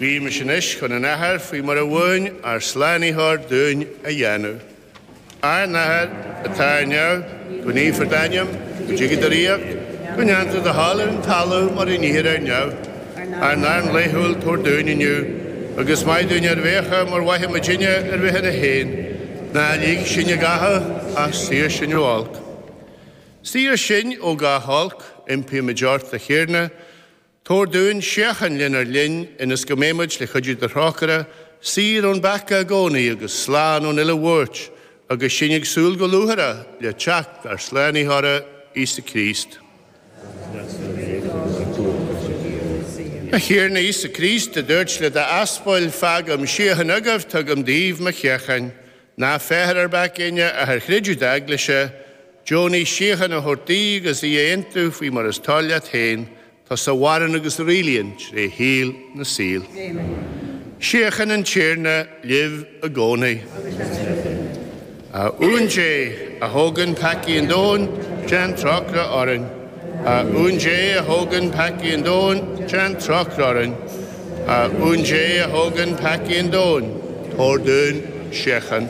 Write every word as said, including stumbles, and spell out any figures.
Guímis anois chun an Athar faoi mar a mhúin ár Slánaitheoir dúinn a dhéanamh. Ár nAthair atá ar neamh, go naofar d'ainm, go dtiga do ríocht, go ndéantar do thoil ar an talamh mar a níthear ar neamh. Ár n-arán laethúil tabhair dúinn inniu, agus maith dúinn ár bhfiacha mar mhaithimidne ár bhfiacha féin, ná lig sinn i gcathú ach saor sinn ó olc. Saor sinn ó gach olc, impímid ort, a Thiarna, tabhair dúinn síocháin lenár linn ionas go mbeimid le cuidiú do thrócaire, saor ón bpeaca i gcónaí agus slán ón uile bhuairt, agus sinn ag súil go lúcháireach le teacht ár Slánaitheora Íosa Críost. A Thiarna Íosa Críost, a dúirt le d'aspail, Fágaim síocháin agaibh, tugaim daoibh mo shíocháin. Ná féach ar ár bpeacaí inne ach ar chreideamh d'eaglaise, deonaigh síocháin a thabhairt di agus í a aontú faoi mar is toil leat féin, tusa a mhaireann agus a rialaíonn tré shaol na saol. Síocháin an Tiarna libh i gcónaí. A Uan Dé, a thógann peacaí an domhain, déan trócaire orainn. A Uan Dé, a thógann peacaí an domhain, déan trócaire orainn. A Uan Dé, a thógann peacaí an domhain, tabhair dúinn síocháin.